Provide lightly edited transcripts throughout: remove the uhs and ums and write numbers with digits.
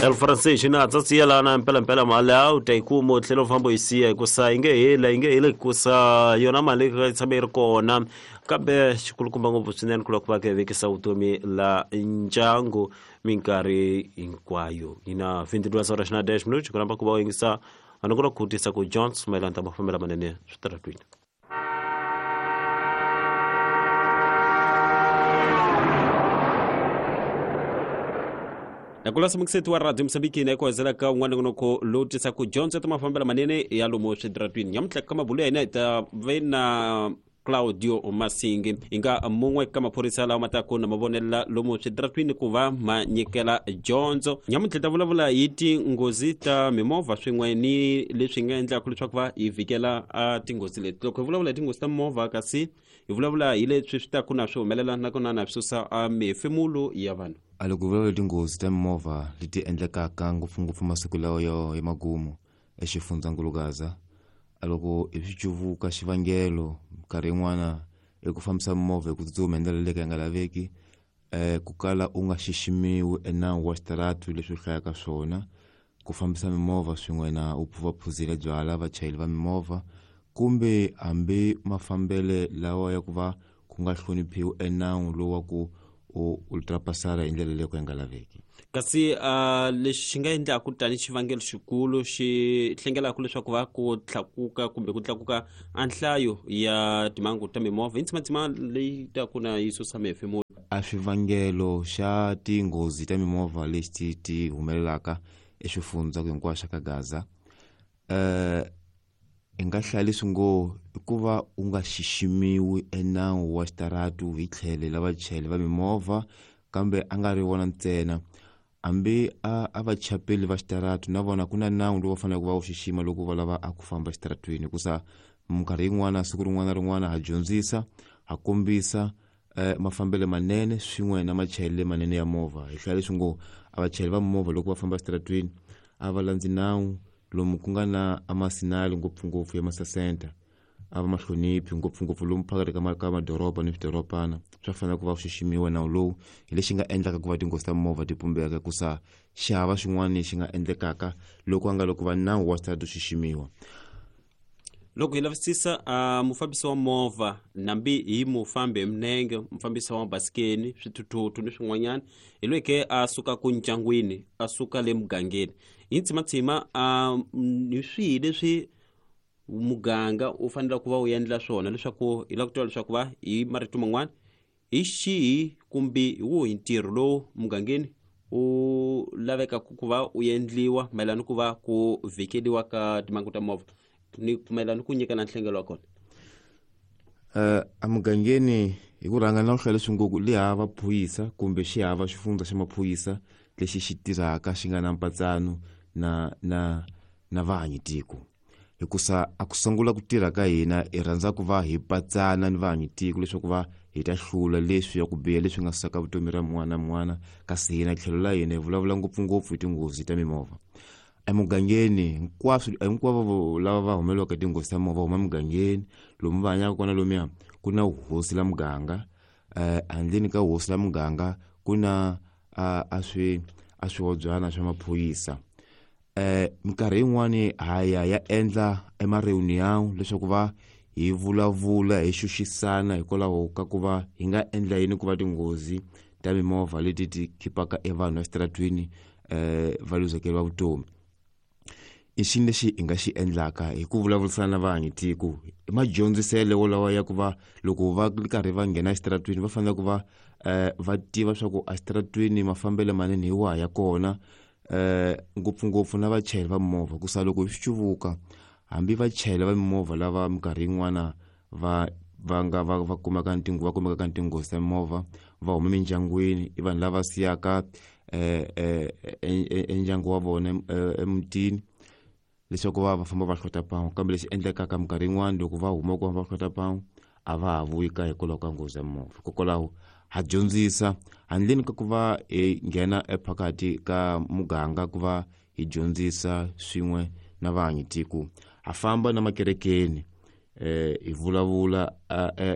El Francais na tsatsi yelana mpelampela mali a u ta yi kuma u tlhela u famba u yi siya hikusa yi nge heli yi nge heli hikusa yona mali yi tshame yi ri kona kambe xikulukumba ngopfu swinene ku lava ku va ka vekisa vutomi la ndyangu minkarhi hinkwayo yi na 22 horas na 10 minutos ku rhamba ku va u yingisa a ni ku la ku tisa ku Jones mayelana ta mafambelo lamanene switaratwini. Nakulasa mukiseti wa radio Mosambiki na ekuhezela ka un'wana nongonoko lowu tisaka dyondzo ta mafambelo manene ya lomu switaratwini. Nyamuntlha ka mabulo ya hina hi ta ve na Claudio Masingi hi nga mun'we ka maphorisa lawa ma taku na mavonelela lomu switaratwini ku va ma nyikela dyondzo. Nyamuntlha ta vulavula hi tinghozi ta mimovha swin'we ni leswi nga endlaka leswaku va hi vhikela a tinghozi leti. Loko hi vulavula hi tinghozi ta mimovha kasi hi vulavula hi leswi swi taku na swi humelela nakona na swi susa a mihefemulo ya vanhu. A loko hi vulavula hi tinghozi ta mimovha leti endlekaka ngopfungopfu masiku lawa yo ya magumu exifundzhankulu Gaza, a loko hi swi cuvuka xivangelo minkarhi yin'wana i ku fambisa mimovha hi ku tsutsuma hi ndlela leyi ka yi nga laveki, ku kala u nga xiximiwi enawu wa xitaratu leswi u hlayaka swona, ku fambisa mimovha swin'we na u va phuzile byala vachayeri va mimovha kumbe hambi mafambele lawa ya ku va ku nga hloniphiwi enawu lowu wa ku u ultrapasara hi ndlela leyi ka yi nga laveki. Kasi lexi xi nga endlaku tani xivangelo xikulu xi hlengelaka leswaku va ku tlakuka kumbe ku tlakuka a nhlayo ya timhangu ta mimovha i ntsimatsima leyi taku na yi susa mihefemulo. A swivangelo xa tinghozi ta mimovha leti ti humelelaka eswifundza hinkwaswo ka Gaza, hi nga hlaya leswi ngo i ku va u nga xiximiwi enawu wa xitaratu hi tlhelo la vachayeri va mimovha, kambe a nga ri vona ntsena, hambi a vachapeli va xitaratu na vona ku na nawu lowu va faneleke va wu xixima loko va lava a ku famba exitaratwini, hikusa minkarhi yin'wana siku rin'wana na rin'wana ha dyondzisa, ha kombisa mafambelo manene swin'we na machayelelo manene ya movha. Hi hlaya leswi ngo a vachayeri va movha loko va famba exitaratwini a va landzi nawu lomu ku nga na amasinali ngopfungopfu ya masasenta, a va ma hloniphi ngopfungopfu lomu phakathi ka madoroba ni swidorobana, swa fanele ku va ku xiximiwa nawu lowu. Hi lexi nga endlaka ku va tinghozi ta mimovha ti pumbeka, hikusa xi hava xin'wana lexi nga endlekaka loko a nga loko va nawu wa xitarata xiximiwa. Loko hi lavisisa mufambisi wa movha nambi hi mufambi hi minenge, mufambisi wa mabasikeni, swithuthuthu ni swin'wanyana, hi loyi ke a suka ku ndyangwini, a suka le mugangeni hi ntsimatsima, hi swihi leswi muganga u fanele ku va u endla swona leswaku hi lava ku tiva leswaku va hi marito man'wana hi xihi kumbe hi wuhi ntirho lowu mugangeni u lavekaka ku va u endliwa mayelana ku va ku vhikeliwa ka timhangu ta movha ni mayelana ku nyikana nhlengelo wa kona? Emugangeni hi ku rhanga na ku hlaya leswi ngo le hava phorisa kumbe xi hava xifundza xa maphorisa lexi xi tirhaka xi nga na mpatsano na vahanyi tiko, hikusa a ku sungula ku tirha ka hina hi rhandza ku va hi patsana ni vahanyi tiko leswaku va hi ta hlula leswi ya ku biha leswi nga susaka vutomi ra mun'wana na mun'wana, kasi hina tlhelo la hina hi vulavula ngopfungopfu hi tinghozi ta mimovha. Emugangeni hinkwaswo hinkwavo lava va humelelaka hi tinghozi ta mimovha va huma emugangeni lomu va hanyaka kona, lomuya ku na hosi la muganga, handleni ka hosi la muganga ku na a swi a swihobyana swa maphorisa. Minkarhi yin'wani ha ya ya endla ema-reunion leswaku va hi vulavula hi xuxisana hikwalaho ka ku va hi nga endla yini ku va tinghozi ta mimovha leti ti khipaka evanhu exitaratwini va luzekeriwa vutomi. I xini lexi hi nga xi endlaka hi ku vulavurisana na vahanyi tiko i madyondziselo wolawa ya ku va loko va ri karhi va nghena exitaratwini va fanele ku va va tiva swa ku exitaratwini mafambelo manene hi waha ya kona, ngopfungopfu na vachayeri va mimovha, ku sa loko hi swi cuvuka hambi vachayeri va mimovha lava minkarhi yin'wana va va nga va va kumeka ntingo va kumekaka ni tinghozi ta mimovha va huma emindyangwini, i vanhu lava siyaka endyangu wa vona emutini leswaku va va famba va hlota pan'we, kambe lexi endlekaka minkarhi yin'wani loko va huma ku va hlota pan'we a va ha vuyi kaya hikwalaho ka nghozi ya mimovha. Hikokwalaho ha dyondzisa handleni ka ku va hi nghena ephakathi ka muganga ku va hi dyondzisa swin'we na vahanyi tiko, ha famba na makerekeni hi vulavula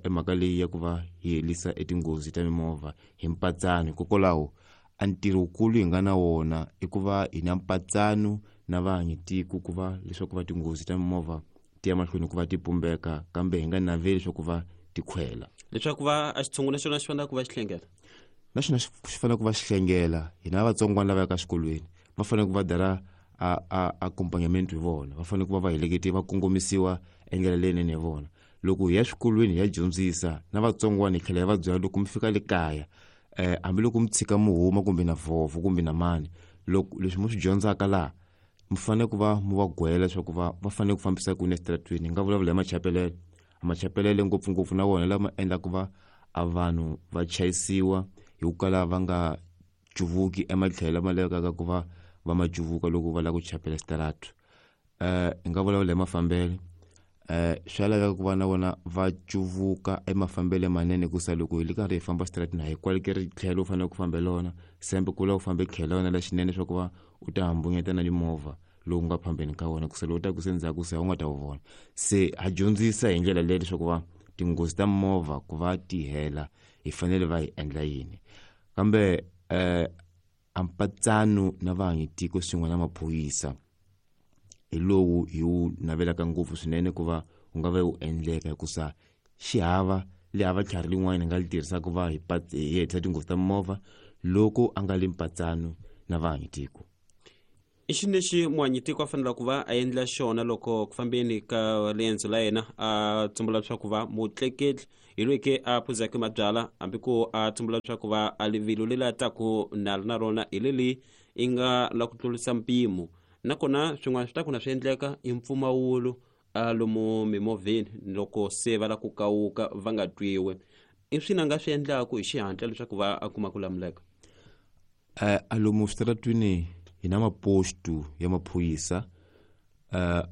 emhaka leyi ya ku va hi herisa etinghozi ta mimovha hi mpatsano. Hikokwalaho A ntirho wukulu hi nga na wona i ku va hi na mpatsano na vaanyitiko ku va leswaku va tinghozi ta mimovha ti ya mahlweni ku va ti pumbeka, kambe hi nga naveli leswaku va ti khwela. Leswaku va a xitshungu na xona xi fanele ku va xi hlengela, na xona xi fanele ku va xi hlengela. Hina vatsongwana lava yaka xikolweni va fanele ku va dara a accompagnament hi vona, va fanele ku va va helekete va kongomisiwa endlela leyinene hi vona. Loko hi ya swikolweni hi ya dyondzisa na vatsongwana, hi tlhela hi va byela loko mi fika le kaya, hambiloko mi tshika mi huma kumbe na vhovho kumbe na mani, loko leswi mi swi dyondzaka laha mi fanele ku va mi va gwela leswaku va fanele ku fambisa ku yini eswitarateni. Hi nga vulavula hi machapelele, machapelele ngopfungopfu na wona lama endlaka va a vanhu va chayisiwa hi ku kala va nga cuvuki ematlhelo lama lavekaka ku va va ma cuvuka loko va lava ku chapela xitarato. Hi nga vulavula hi mafambelo, swa laveka ku va na vona va cuvuka emafambelo manene, hikusa loko hi ri karhi hi famba xitaratini a hi kwalekeri tlhelo u fanele ku fambela wona, sembe ku lava u fambe tlhelo wona lexinene leswaku va u ta hambunyeta na mimovha lowu nga phambeni ka wona, kusa lowu taku se ndzhaku se a wu nga ta wu vona. Se ha dyondzisa hi ndlela leyi leswaku va tinghozi ta mimovha ku va ti hela hi fanele va hi endla yini. Kambe a mpatsano na vaanyitiko swin'we na maphorisa hi lowu hi wu navelaka ngopfu swinene ku va wu nga va wu endleka, hikusa xihava le hava tlhari lin'wana hi nga li tirhisaka ku va hi hetisa tinghozi ta mimovha loko a nga li mpatsano na vaanyitiko. I xini lexi muanyitiko a fanele ku va a endla xona loko ku fambeni ka riendzo la yena a tsumbula leswaku va mutleketli hi loyi ke a phuzaka mabyala, hambi ku a tsumbula leswaku va a rivilo leri a taku nalo na rona hi leli i nga la ku tlurisa mpimo, nakona swin'wana swi ta ku na swi endleka i mpfumawulo a lomu mimovheni loko se va la ku kawuka va nga twiwi, i swini a nga swi endlaku hi xihatla leswaku va a kuma ku lamuleka? A lomu switaratwini hi na mapostu ya maphorisa.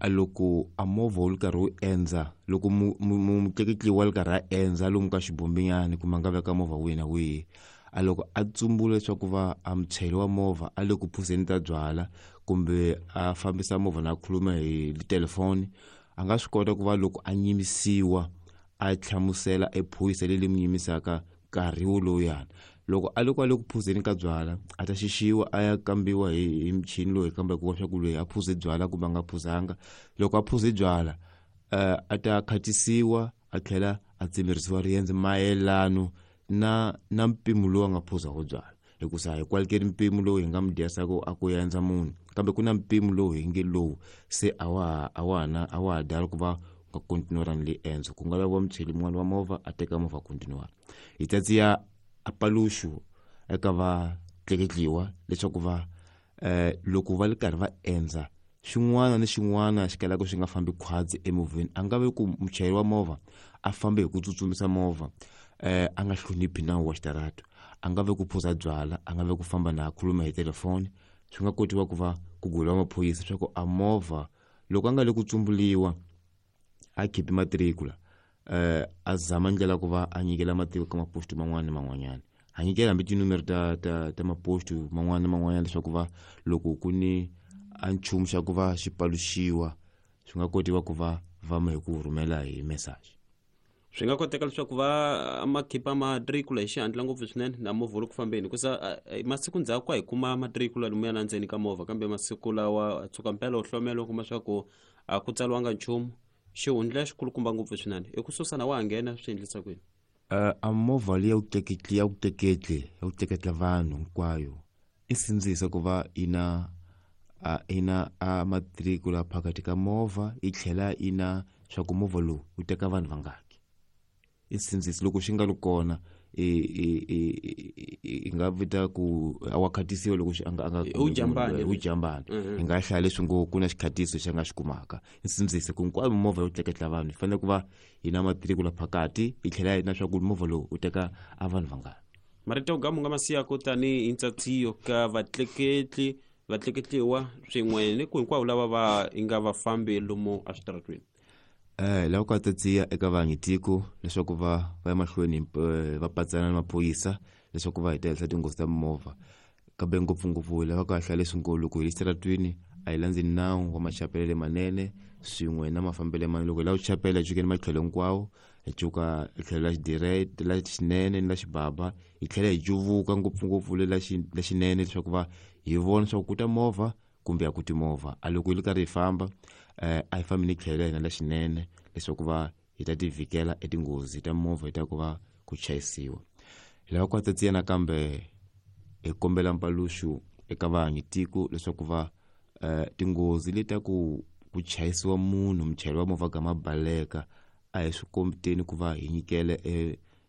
A loko a movha wu ri karhi wu endza, loko mutleketli wa ri karhi a endza lomu ka xibombinyana kumbe a nga veka movha wihi na wihi, a loko a tsumbula leswaku va a muchayeri wa movha a le ku phuzeni ta byala kumbe a fambisa movha na a khuluma hi telefoni, a nga swi kota ku va loko a nyimisiwa a hlamusela ephorisa leri mi nyimisaka nkarhi wolowuyana. Loko a loko a le ku phuzeni ka byala a ta xixiwa a ya kambiwa hi michini loyi kambaka ku swa ku loyi a phuze byala kumbe a nga phuzanga. Loko a phuze byala, a ta khatisiwa a tlhela a tsemerisiwa riendzo mayelano na mpimo lowu a nga phuza wo byala, hikusa hi kwalekeri mpimo lowu hi nga mi dyasaka a ku endza munhu, kambe ku na mpimo lowu hi nge lowu se a wa ha dala ku va nga kontinuarani le endzo, ku nga laviwa muchayeri mun'wana wa movha a teka movha kontinuara. Hi tsatsiya a paluxu eka va tleketliwa leswaku va loko va ri karhi va endza xin'wana ni xin'wana xi kalaka xi nga fambi khwatsi emovheni, a nga vi ku muchayeri wa movha a fambe hi ku tsutsumisa movha, a nga hloniphi nawu wa xitarato, a nga vi ku phuza byala, a nga vi ku famba na khuluma hi telefoni. Swi nga kotiwa ku va ku gula maphorisa leswaku a movha loko a nga le ku tsumbuliwa a khipi matricula, a zama ndlela ku va a nyikela matiko ka maposto man'wana na man'wanyana, a nyikela hambi tinumero ta maposto man'wana na man'wanyana leswaku va loko ku ni a nchumu xa ku va xi paluxiwa swi nga kotiwa ku va va hi ku rhumela hi message. Swi nga koteka leswaku va ma khipa matricula hi xihatla ngopfu swinene na movha wu ri ku fambeni, hikusa masiku ndzhaku a hi kuma matricula lomuya na ndzeni ka movha, kambe masiku lawa tshuka mpela u hlomela u kuma swa ku a ku tsariwanga nchumu, xihundla xikulukumba ngopfu swinene i ku susa na wa ha nghena swi endlisa kwini? A movha leyi ya ku tleketla vanhu hinkwayo i sindzisa ku va ina a matricula phakathi ka movha, yi tlhela ina swa ku movha lowu wu teka vanhu vangaki. I sindzisa loko xi nga ri kona i nga vita ku a wa khatisiwa loko a nga u jambani, hi nga hlaya leswi ngo ku na xikhatiso xi nga xi kumaka. I sindzisa ku hinkwayo mimovha yo tleketla vanhu yi fanele ku va yi na matricula phakathi, yi tlhela yi na swa ku movha lowu wu teka a vanhu vangani. Marito yo gamu nga masiyaku tanihi ntsatsiyo ka vatleketli vatleketliwa swin'we ni ku hinkwavo lava va nga vafambi lomu eswitaratweni. Lava ku tsatsiya eka vaanyitiko leswaku va ya mahlweni va patsana na maphorisa leswaku va hetelela tinghozi ta mimovha, kambe ngopfungopfu lava ku hlaya leswi ngo loko hi le xitaratwini a hi landzi nawu wa machapelele manene swin'we na mafambelo manene. Loko hi lava ku chapela hi jikeni matlhelo hinkwawo, hi cuka hi tlhelo la xidirect la xinene ni la xibaba hi tlhela hi cuvuka ngopfungopfu le la xinene leswaku va hi vona leswaku ku ta movha kumbe a ku ti movha. A loko hi ri karhi hi famba a hi fambi ni tlhelo la hina la xinene leswaku va hi ta ti vhikela etinghozi ta movha hi ta ku va ku chayisiwa. Hi lava ku hatsatsiya nakambe hi kombela mpaluxu eka vahanyi tiko leswaku va tinghozi leti ta ku chayisiwa munhu muchayeri wa movha gama baleka a hi swi kombiteni ku va hi nyikele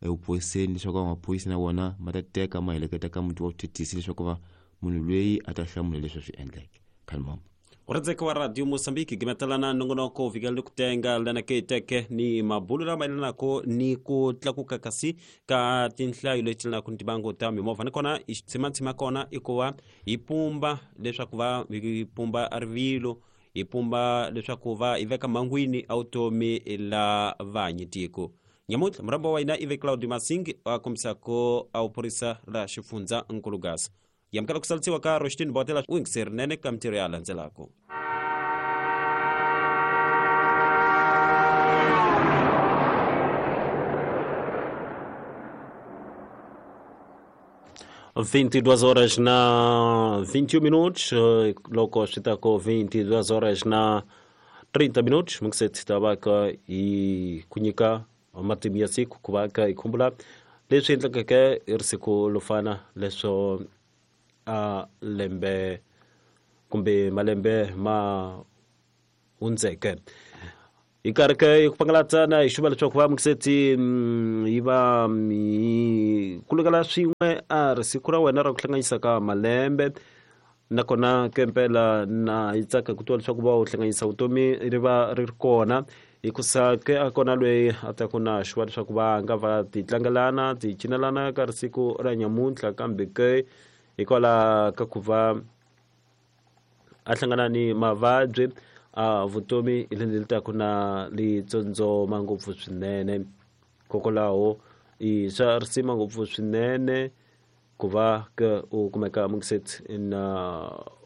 evuphoyiseni leswaku maphorisa na wona ma ta teka ma heleketa ka muti wa vuthethisi leswaku va munhu loyi a ta hlamula leswi a swi endleke. Khalmama Uradzeka wa Radio Mozambique gimetelana nongonoko vikela ni ku tenga lana ke teke ni mabulu lama yelanako ni ku tlakuka kasi ka tinhlayo leti yelanaka ni tibango ta mimovha. Nakona xitsimatsima kona i ku va hi pumba leswaku va hi pumba rivilo, hi pumba leswaku va hi veka mhangwini a vutomi la vanyi tiko. Nyamuntlha murhambo wa hina i ve Claudio Masingi a kombisako a vuphorisa la xifundza Nkulugasa. Yamukela ku salisiwa ka Roshtini Botela u yingiseri nene ka mintirho ya landzelako. 22 horas na 21 minutos, loko swi ta ko 22 horas na 30 minutos, mukiseti ta va ka hi ku nyika matimu ya siku ku va ka hi khumbula leswi endlekeke hi ri siku lo fana leswo a lembe kumbe malembe ma hundzeke. Hi karhi ke hi ku pangalatsana hi xuva leswaku va mukiseti yi va hi kulukela swin'we a ri siku ra wena ra ku hlanganyisa ka malembe. Nakona ke mpela na yi tsaka ku twa leswaku va u hlanganyisa vutomi ri va ri ri kona hikusa ke a kona loyi a ta ku na xuva leswaku va nga va ti tlangelana ti cinelana ka risiku ra nyamuntlha, kambe ke hikwalaho ka ku va a hlangana ni mavabyi a vutomi hi leri taku na li tsondzoma ngopfu swinene. Hikokwalaho i swa risima ngopfu swinene ku va ke u kumeka mukiseti na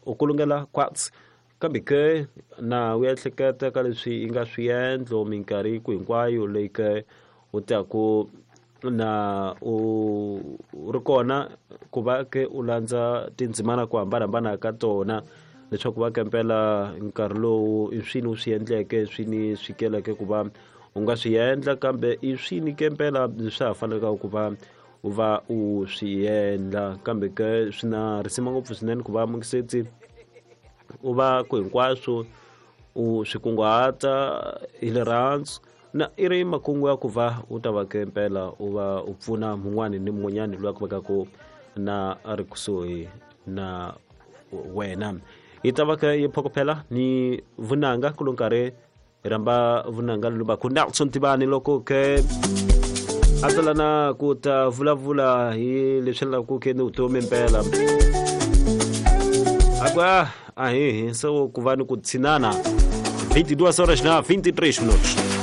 u kulungela kwatsi, kambe ke na u ehleketa ka leswi yi nga swiendlo minkarhi ku hinkwayo leyi ke u taku na u ri kona ku va ke u landza tindzimana ku hambanahambana ka tona leswaku va kempela nkarhi lowu i swini u swi endleke swini swi keleke ku va u nga swi endla, kambe i swini kempela swa ha faneleke ku va u va u swi endla. Kambe ke swi na risima ngopfu swinene ku va mukiseti u va ku hinkwaswo u swi kunguhata hi rirhandzu na i ri makungu ya ku va u ta va ke mpela u va u pfuna mun'wani ni mun'wanyani loyi a ku vekaka na a ri kusuhi na wena. Hi ta va ke yi phokophela ni vunanga ku lo nkarhi hi rhamba vunanga lombaku Nelson Tivani loko ke a tsalana ku ta vulavula hi leswi endlaku ke ni vutomi mpela. A ku a hi so ku va ni ku tshinana. 22 horas na 23 minutos.